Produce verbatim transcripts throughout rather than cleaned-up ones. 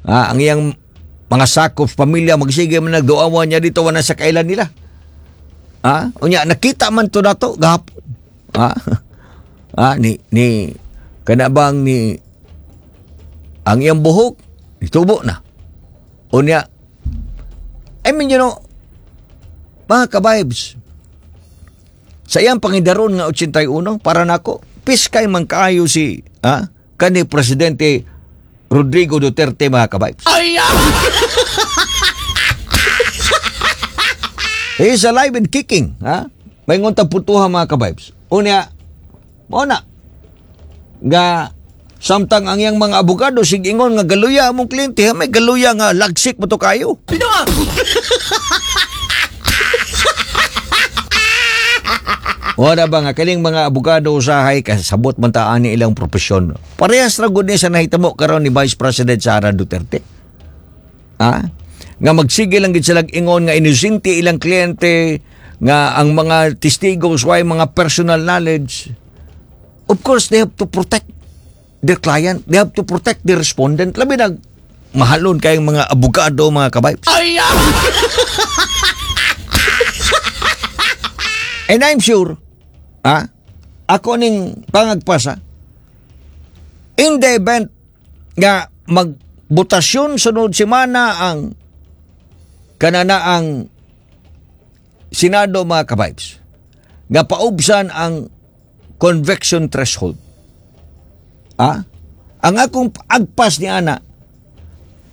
Ah, ang iyang mga sakop pamilya magsige man nagduawan niya dito wala sa kailan nila. Ah, unya nakita man to nato gahapon. Ah, ah ni ni kana bang ni ang iyang buhok nitubo na. Unya I mean, you know, mga ka-vibes, sa iyang pangidaron nga eighty-one, para nako, piskay man kaayo si ah, kani Presidente Rodrigo Duterte, mga ka-vibes. Ay! He is alive and kicking. Ha? May nguntang putuha, mga ka-vibes. Unya, mao na, nga, samtang ang iyang mga abogado, sig ingon nga galuya among kliyente, ha? May galuya nga lagsik mo to kayo. Pino! Wala ba nga kaning mga abogado usahay kasabot man ta ani ilang propesyon. Parehas ra gud ni sa nahitabo karon ni Vice President Sara Duterte. Ha? Nga magsige lang gid sila ingon nga inosente ilang kliyente, nga ang mga testigo way mga personal knowledge. Of course, they have to protect their client. They have to protect the respondent. Labi na mahalon kayong mga abogado, mga ka-vibes. Ay! And I'm sure, ah, ako ning pangagpasa, in the event nga magbotasyon sunod semana ang kanana ang Senado, mga ka-vibes, nga paubsan ang conviction threshold. Ah? Ang akong agpas ni ana,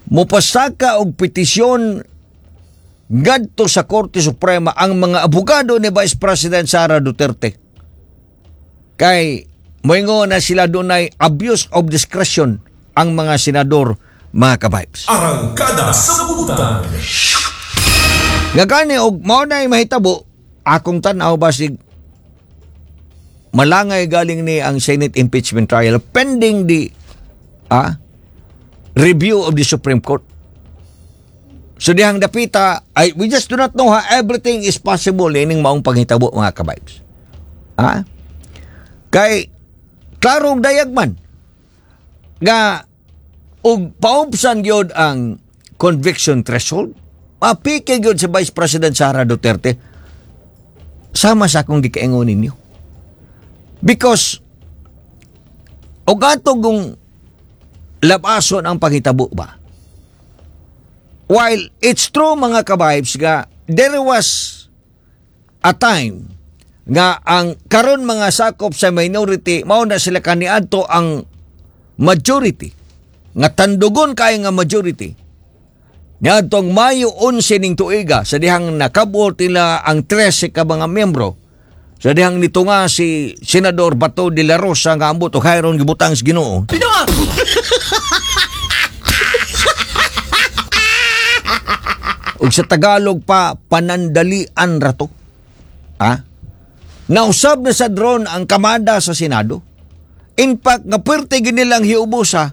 mupasaka og petisyon ngadto sa Korte Suprema ang mga abogado ni Vice President Sara Duterte. Kay moingon na sila dunay abuse of discretion ang mga senador, mga ka-vibes. Arangkada sa Butan. Nga gani og mao na mahitabo, akong tan-aw basig malangay galing ni ang Senate impeachment trial pending the ah, review of the Supreme Court. So dihang dapita, ay, we just do not know how everything is possible ining maong panghitabo, mga ka-vibes. Ha? Kay klarong dayag man nga og paubsan gyud ang conviction threshold, mapike gyud si Vice President Sara Duterte sama sa akong gikaingon ninyo. Because og ato kung labason ang panghitabo ba? While it's true, mga ka-vibes, nga there was a time nga ang karon mga sakop sa minority mao na sila kaniadto ang majority nga tandugon kay nga majority niadtong Mayo eleven ning tuiga sa dihang nakabot nila ang thirteen ka mga miyembro sa dihang nito nga si Senador Bato de la Rosa nga ambot og hayron gibutang sa Ginoo. Pino! Ug sa Tagalog pa, panandalian rato. Ha? Nausab na sa drone ang kamada sa Senado. In fact, nga puwerte ginilang hiubusa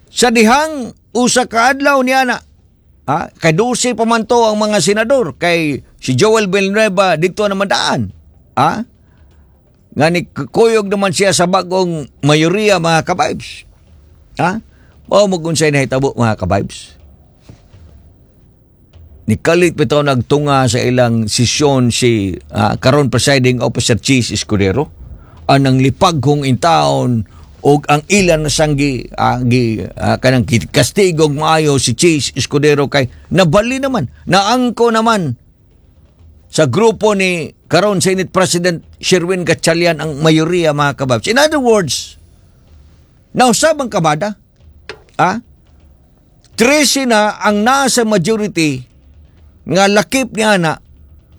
sa dihang usa ka adlaw niya na. Ha? Kay twelve pa man to ang mga senador. Kay si Joel Villanueva dito na madaan. Ha? Nga ni kuyog naman siya sa bagong mayoriya, mga ka-vibes. Ha? Mao mo kung sa'yo nahitabo, mga ka-vibes. Nikalit bitaw nagtunga sa ilang sesyon si, ah, karon presiding officer Chiz Escudero anang lipaghong in town og ang ilan na sanggi, ah, gi, ah, kanang kastigong maayo si Chiz Escudero kay nabali naman, naangko naman sa grupo ni karon Senate President Sherwin Gatchalian ang mayoriya, mga ka-vibes. In other words, nausab ang kamada, ah, thirteen na ang nasa majority nga lakip niya na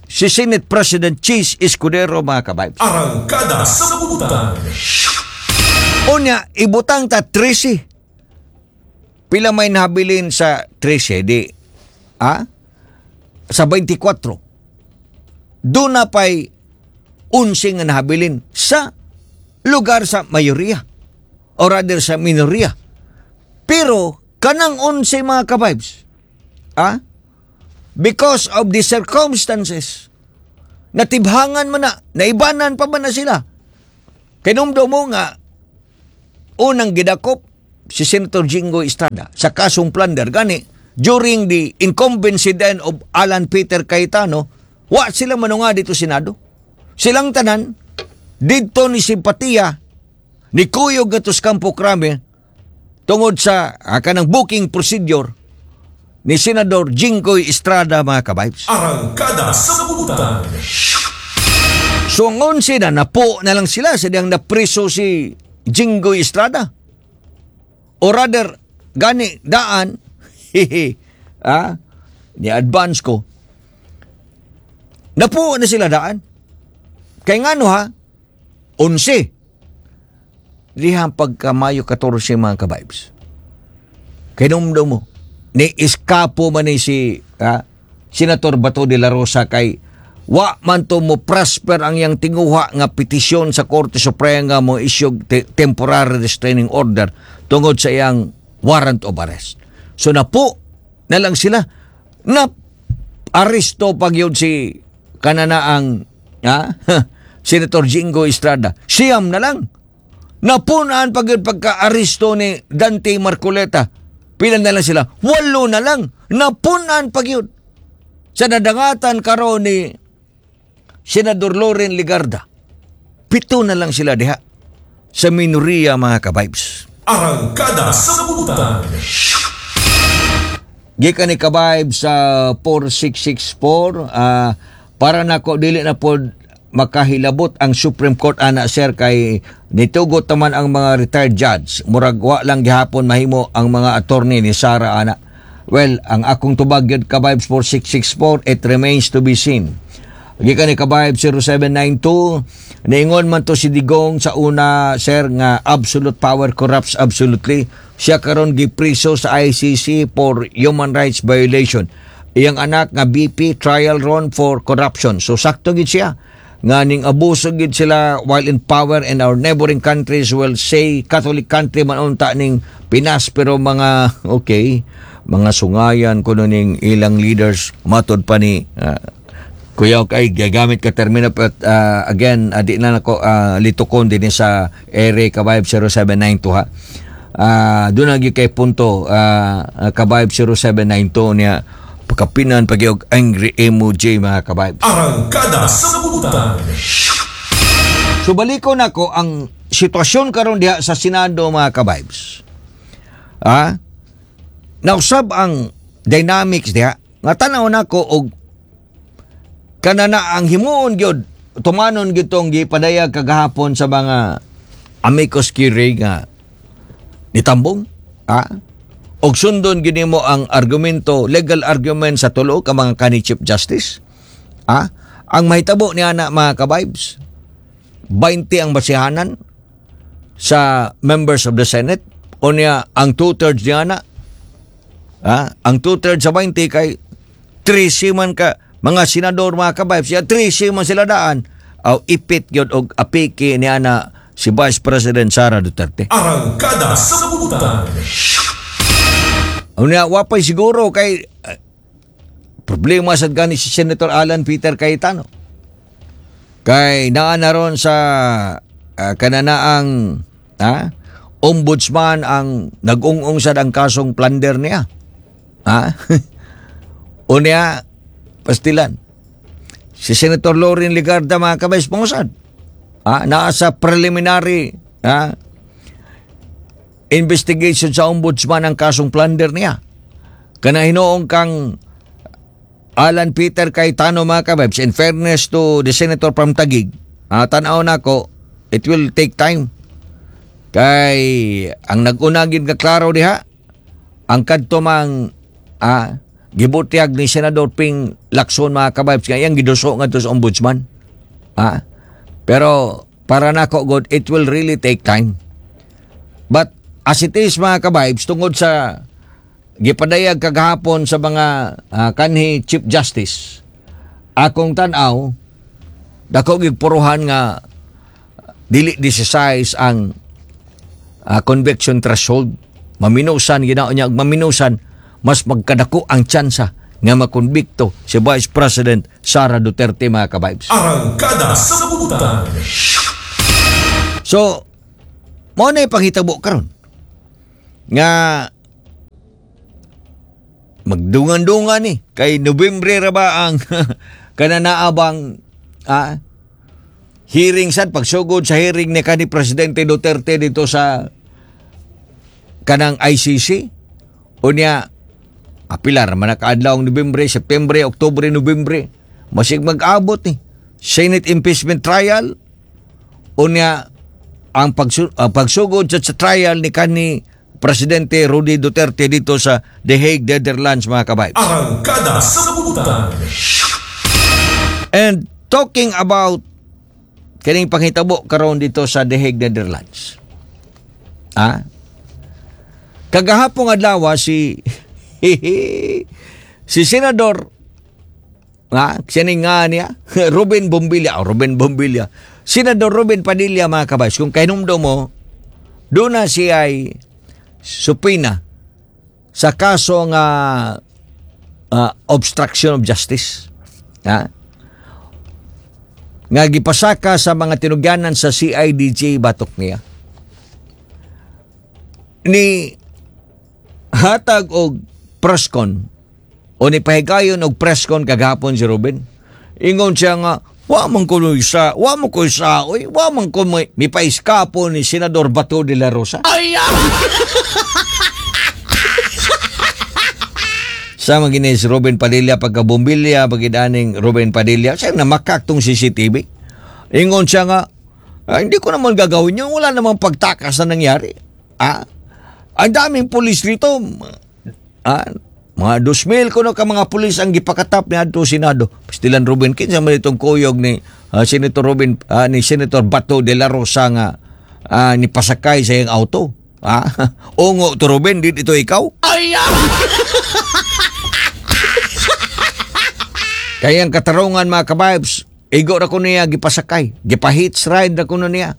si Senate President Chiz Escudero, mga ka-vibes. Arangkada sa Butan. Unya, ibutang ta thirteen. Pila may nabilin sa thirteen, di, ah? Sa twenty-four. Doon na pa'y eleven nga nahabilin sa lugar sa mayoriya o rather sa minoriya. Pero kanang eleven, mga ka-vibes, ah? Because of the circumstances, natibhangan man na, naibanan pa man na sila. Kinumdo mo nga, unang gidakop, si Senator Jinggoy Estrada sa kasong plunder. Gani, during the incumbency then of Alan Peter Cayetano, wa sila manunga didto Senado. Silang tanan, didto ni simpatiya, ni kuyog ngadto sa Kampo Crame, tungod sa ah, kanang booking procedure ni Senador Jinggoy Estrada, mga ka-vibes. Arangkada sa Butan. So ang onse na, napo na lang sila sa diyang napriso si Jinggoy Estrada. O rather, gani, daan, hihi, ah, ni advance ko, napo na sila daan. Kay ngano ha, onse. Dihang pagka Mayo katorse, mga ka-vibes. Kay numdum mo, ni iskapo man ni si ah, Senator Bato de la Rosa kay wa man to mo prosper ang iyang tinguha nga petisyon sa Korte Suprema nga mo issue te- temporary restraining order tungod sa iyang warrant of arrest. So napo na lang sila na aresto pag yun si kananaang ha? Senator Jinggoy Estrada. Siyam na lang. Napunaan pag yun pagka-aresto ni Dante Marcoleta. Pila na lang sila? Walo na lang. Napunaan pag yun. Sa nadangatan karon ni Senador Loren Legarda. Pito na lang sila diha sa minoriya, mga ka-vibes. Arangkada sa Butan. Gikan ni ka-vibe sa four six six four, ah, para nako dili na pod makahilabot ang Supreme Court ana, sir, kay nitugot naman ang mga retired judge. Murag wa lang gihapon mahimo ang mga attorney ni Sara ana. Well, ang akong tubag gyud, ka-vibes four six six four, it remains to be seen. Gikan ni ka-vibe zero seven nine two, niingon man to si Digong sa una, sir, nga absolute power corrupts absolutely. Siya karon gipriso sa I C C for human rights violation. Iyang anak nga V P trial ron for corruption. So sakto gid siya nga ning abuso gid sila while in power, and our neighboring countries will say Catholic country man unta ning Pinas, pero mga okay, mga sungayan kuno ning ilang leaders, matod pa ni ah, Kuya, kay gagamit ka termino, but uh, again, uh, di na nako uh, litukon din sa ere, ka-vibe zero seven nine two ha. Uh, doon na gyud kay punto, uh, uh, ka-vibe zero seven nine two niya pagkapinan pag angry emoji, mga ka-vibe. Arangkada sa Butan. So balikon nako ang sitwasyon karon diha sa Senado, mga ka-vibes. Ah? Nausab ang dynamics diha. Nga tan-aw nako og kanana ang himuon gyud, tumanon gyud tong gipadayag kagahapon sa mga amicus curiae nga nitambong, ah, og sundon gyud nimo ang argumento, legal argument sa tulo ka mga kanhi Chief Justice, ah, ang mahitabo niya na, mga ka-vibes, twenty ang basihanan sa members of the Senate. Unya ang two-thirds niya na, ah, ang two-thirds sa twenty kay thirteen man ka mga senador, mga ka-vibes ya, thirteen man sila daan aw ipit gyud og apiki niya na si Vice President Sara Duterte. Arangkada sa Butan. Unya wapay siguro kay eh, problema sad gani si Senator Alan Peter Cayetano. Kay naa na ron sa uh, kananaang ha, ombudsman ang nag-ung-ung sad ang kasong plunder niya. Ha? Unya pastilan. Si Senator Loren Legarda, mga ka-vibes, pangusad. Ah, naa sa preliminary ha, investigation sa ombudsman ang kasong plunder niya. Kana hinuong kang Alan Peter Cayetano, mga ka-vibes, in fairness to the senator from Taguig, ah, tanaw nako, it will take time. Kay ang nag-una gid nga klaro diha, ang kadto mang ah, gibutyag ni Senador Ping Lacson, mga ka-vibes, nga iyang giduso ngadto sa ombudsman. Ah, pero para nako god, it will really take time. But as it is, mga ka-vibes, tungod sa gipadayag kagahapon sa mga ah, kanhi Chief Justice, akong tan-aw, dako gig puruhan nga dili decisive ang ah, conviction threshold. Maminusan ginao niya, maminusan mas magkadako ang tsansa nga makonbikto si Vice President Sara Duterte, mga ka-vibes. Arangkada sa Butan. So, mao na panghitabo karon. Nga magdungan-dungan ni kay Nobyembre ra ba ang kananaabang ah, hearing sad, pagsugod sa hearing ni kani Presidente Duterte dito sa kanang I C C. Unya apila ra man kaadlaw ang Nobyembre, September, Oktubre, Nobyembre, masig mag-abot ni Senate impeachment trial. Unya ang pagsu- ah, pagsugod sa, sa trial ni kani Presidente Rody Duterte dito sa The Hague, Netherlands, mga ka-vibes. Arangkada sa Butan. And talking about kining panghitabo karon dito sa The Hague, Netherlands. Ah? Kagahapong adlaw si si Senador nga, siya nga niya, Ruben Bombilla, oh, Ruben Bombilla. Senador Robin Padilla, mga ka-vibes, kung kahinumdom mo, doon na siya ay subpoena sa kaso nga ah, obstruction of justice. Ha? Nga gipasaka sa mga tinugyanan sa C I D J batok niya. Ni hatag og presscon o ni pahigayon og presscon kagahapon si Ruben. Ingon siya nga, wa man ko sa, wa man ko sa, oy, wa man ko may, may paiskapo ni Senador Bato de la Rosa. Ay! Sa mga si Robin Padilla, pagkabumbilya, pagidaning Robin Padilla, siya namakak tong C C T V. Ingon siya nga, "Ah, hindi ko naman gagawin yun. Wala namang pagtakas na nangyari. Ah, ang daming pulis dito. Ah, mga dos mil kuno ka mga pulis ang gipakatap ni adto Senado." Pastilan, Robin, kinsa man itong kuyog ni ah, Senator Robin, ah, ni Senator Bato de la Rosa nga ah, ni pasakay sa iyang auto? Ah, ungo to, Robin, di ito ikaw? Ay! Kaya ang katarungan, mga ka-vibes, igo ra ko niya gipasakay. Gipahits ride ra ko niya.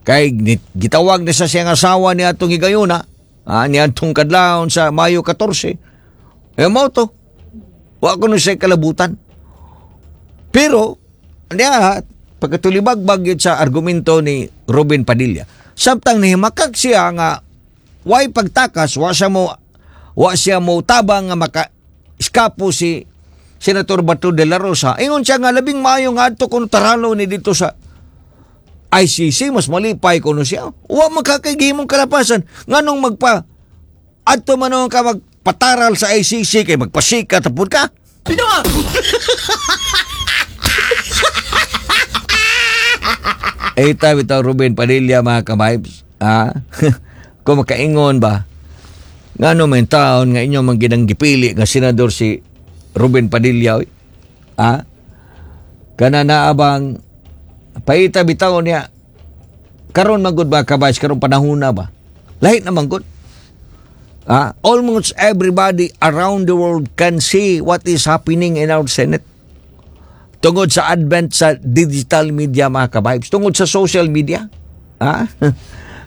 Kay ni- gitawag na sa siyang asawa niya atong higayuna, ah, niya atong kadlawon sa Mayo katorse. Eh mo to. Wa ko no siya kalabutan. Pero, niya, pagkatulibagbag yun sa argumento ni Robin Padilla. Samtang nihimakak siya nga why pagtakas, wa siya mo wa siya mo tabang nga maka iskapo si Senator Bato de la Rosa. Ingon siya nga labing maayo nga adto kuno taralo ni dito sa I C C, mas malipay kuno siya. Wa makakagimong kalapasan nganong magpa adto man ka magpataral sa I C C kay magpasikat tapod ka. Sino? Eh, tabi ito, Ruben Padilla, mga ka-vibes. Ah, kung makaingon ba, nga no may taon nga inyo man ginang gipili nga senador si Ruben Padilla, oy. Ah, kana naabang paita bitaw niya, karon magud ba, ka-vibes, karon panahon na ba? Lahit naman gud. Ah, almost everybody around the world can see what is happening in our Senate. Tungod sa advent sa digital media, mga ka-vibes, tungod sa social media. Ah?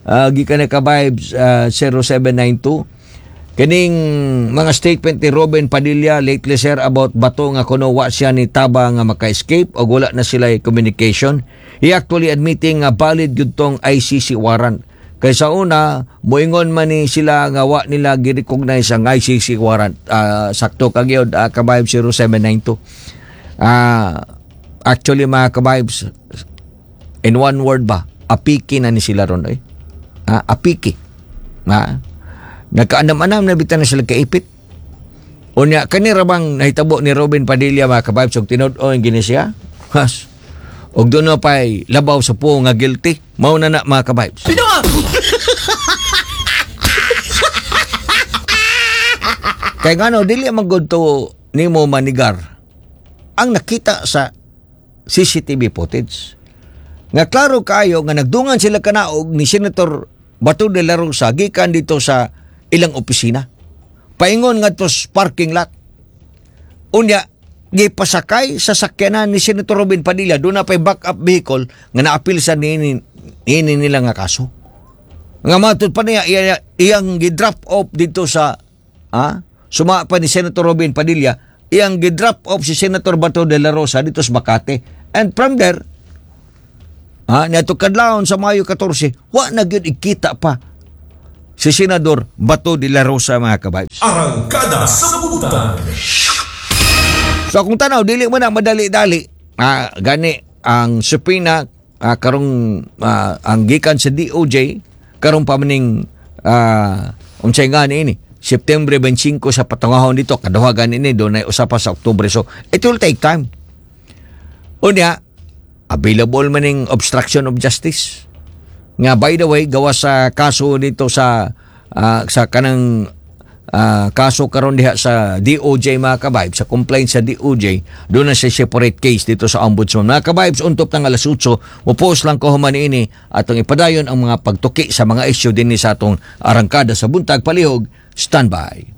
Uh, gikan na, ka-vibes, ah, zero seven nine two. Kining mga statement ni Robin Padilla lately, sir, about Bato nga kuno wa siya ni taba nga maka-escape o wala na sila communication. He actually admitting nga valid gyud tong I C C warrant. Kay sa una, moingon man ni sila nga wa nila gi-recognize ang I C C warrant. Ah, sakto ka gyud, uh, ka-vibe zero seven nine two. Ah, actually, mga ka-vibes, in one word ba, apiki na ni sila ron eh. Ah, apiki. Ah, nagkaanam-anam na bitan na sila kaipit. Unya, kani ra bang nahitabo ni Robin Padilla, mga ka-vibes, og tinud-on gini siya? Has. Og doon na pa'y labaw sa po nga guilty. Mao na na, mga ka-vibes. Sino? Kay ngano dili man gud to nimo manigar ang nakita sa C C T V footage. Nga klaro kayo nga nagdungan sila kanaog ni Senator Bato de la Rosa gikan dito sa ilang opisina. Paingon nga to sa parking lot. Unya, gipasakay sa sakyanan ni Senator Robin Padilla, doon na pa'y backup vehicle nga naapil sa nini, nini nila nga kaso. Nga matod pa niya, iya, iyang gi-drop off dito sa, ah, suma pa ni Senator Robin Padilla, iyang gi-drop off si Senator Bato de la Rosa dito sa Makati. And from there, ah, niadto kadlawon sa Mayo katorse, wa na gyud ikita pa Si Senador Bato de la Rosa, mga ka-vibes. Arangkada sa Buntag. So kung tanaw, dili mo na madali-dali. Ah, gani ang subpoena ah, karong ah, ang gikan sa D O J karon pa maning ah, unsay nga ni ini September twenty-five sa patungahon dito, kaduha gani ni dunay usa pa sa Oktubre, so it will take time. Unya, available maning obstruction of justice nga, by the way, gawa sa kaso dito sa ah, sa kanang ah, kaso karon diha sa D O J, mga ka-vibes, sa complaint sa D O J, doon na siya separate case dito sa ombudsman, mga ka-vibes. Untop ng alas otso, mo-post lang ko human ini, atong ipadayon ang mga pagtuki sa mga issue dinhi sa atong Arangkada sa Buntag. Palihog standby.